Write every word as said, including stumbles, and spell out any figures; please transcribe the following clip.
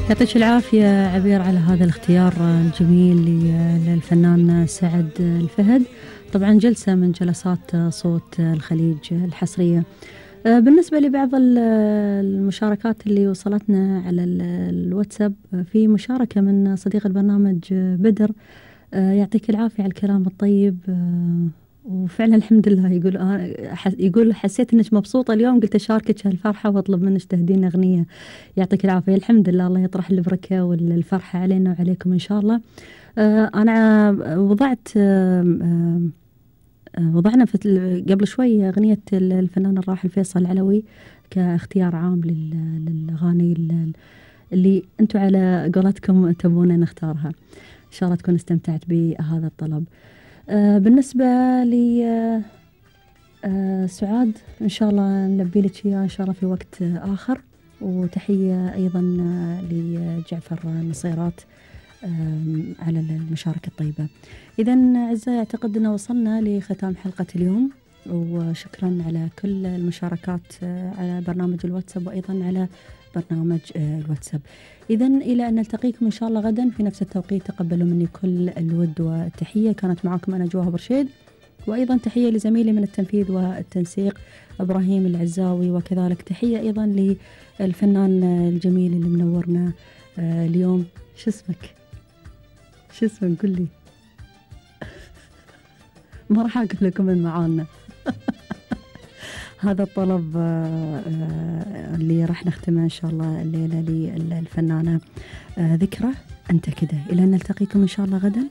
يعطيك العافية عبير على هذا الاختيار الجميل للفنان سعد الفهد. طبعا جلسة من جلسات صوت الخليج الحصرية. بالنسبة لبعض المشاركات اللي وصلتنا على الواتساب، في مشاركة من صديق البرنامج بدر، يعطيك العافية على الكلام الطيب، وفعلا الحمد لله. يقول يقول حسيت انك مبسوطة اليوم، قلت اشاركك هالفرحة واطلب منك تهدين اغنية. يعطيك العافية. الحمد لله، الله يطرح البركة والفرحة علينا وعليكم ان شاء الله. انا وضعت وضعنا في قبل شوي اغنية الفنان الراحل فيصل العلوي كاختيار عام للاغاني اللي انتم على قولتكم تبون نختارها. ان شاء الله تكون استمتعت بهذا الطلب. آه بالنسبة لي آه آه سعاد، إن شاء الله نلبي لك إياه إن شاء الله في وقت آه آخر. وتحية أيضا آه لجعفر نصيرات آه على المشاركة الطيبة. إذا أعزائي، أعتقد أن وصلنا لختام حلقة اليوم، وشكرا على كل المشاركات آه على برنامج الواتساب وأيضا على برنامج آه الواتساب. إذا إلى أن نلتقيكم إن شاء الله غدا في نفس التوقيت، تقبلوا مني كل الود والتحية. كانت معكم أنا جواهر برشيد، وأيضا تحية لزميلي من التنفيذ والتنسيق إبراهيم العزاوي، وكذلك تحية أيضا للفنان الجميل اللي منورنا آه اليوم. شو اسمك؟ شو اسمك؟ قل لي. ما راح أقول لكم من معانا. هذا الطلب اللي راح نختمه إن شاء الله الليلة للفنانة ذكرى أنت كده. إلى أن نلتقيكم إن شاء الله غدا.